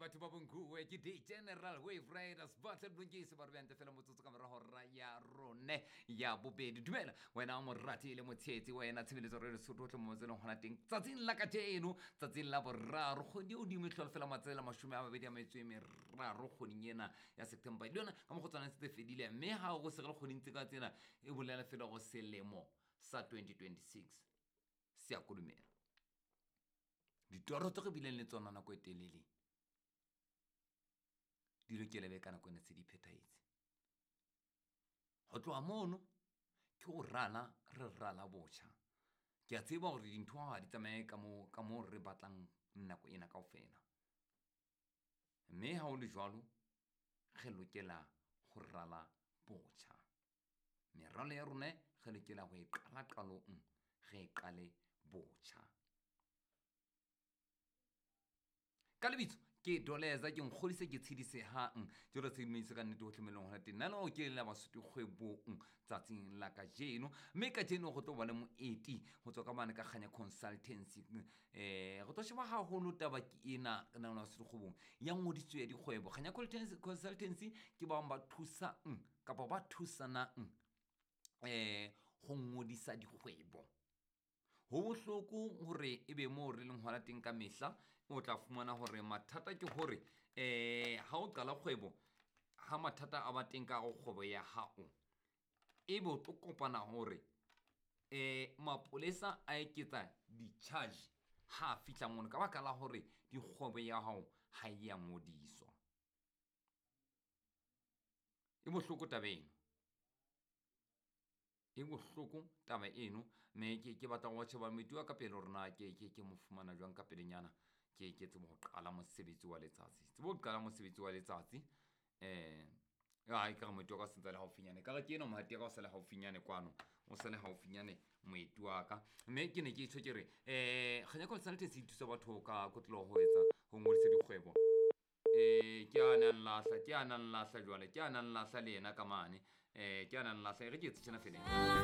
Batho ba bonkuwe ke D General Wave Riders Battle Blongise ba re bjante fela motsotso ka morago ra ya rone ya bobedi. Dumela wena morati le motsheetsi, wena tshebeletso re Lesotho tle mo tseleng gona teng tsatsing la kajeno, tsatsing la boraro kgwedi o dimo e tlhola fela matsela 23 kgweding ena ya September. Le yona ka mo go tswana setse fedile, mme ga go segele kgweding tse ka tsena e bolela fela go selemo sa 2026 se a kodumela. Ditoro tse re bileng le tsona nako e telele di lokele be ka nako ena tse di phethahetse. Go tloga mono ke go rala, re rala botjha. Ke a tseba gore dintho ga di tsamaye ka mo re batlang nako ena kaofela, mme ha o le jwalo re lokela go rala botjha. Meralo ya rona re lokela go e qala qalong, re e qale botjha. Ka lebitso ke Doleza, ke nkgodise ke tshedisehang jalo tshedimosetso ka nnete hohle mo e leng hona teng. Nna le ke la Basotho kgwebong tsatsing la kajeno, mme kajeno go tlo ba le moeti go tswa ka mane ka Kganya Consultancy. Re tlo sheba haholo taba ke ena nna Basotho kgwebong ya ngodiso ya dikgwebo. Kganya Consultancy ke ba bang ba thusang kapa ba thusanang go ngodisa dikgwebo. Ho bohloko hore ebe moo re leng hona teng ka mehla o tla fumana hore mathata ke hore ha o qala kgwebo, ha mathata a ba teng ka hare ho kgwebo ya hao, ebe o tlo kopana hore mapolesa a eketsa di-charge ha a fihla mono ka baka la hore dikgwebo ya hao ha e ya ngodiswa. E bohloko taba eno, e bohloko taba eno, mme ke batla go sheba moeti wa ka pele hore na ke mo fumana jwang ka pelenyana, ke tsebe ho qala mosebetsi wa letsatsi, tsebe ho qala mosebetsi wa letsatsi. Ai ka re moeti wa ka o sentse a le haufinyane, ka re ke ena mohati wa ka o sa le haufinyane kwano, o sa le haufinyane moeti wa ka. Mme ke ne ke tjho ke re Kganya Consultancy e thusa batho ka kotloloho ho etsa ho ngodisa dikgwebo. Ke a nang lahla, ke a nang lahla jwale, ke a nang lahla le yena ka mane, ke a nang lahla, e re ke etse tjena fela.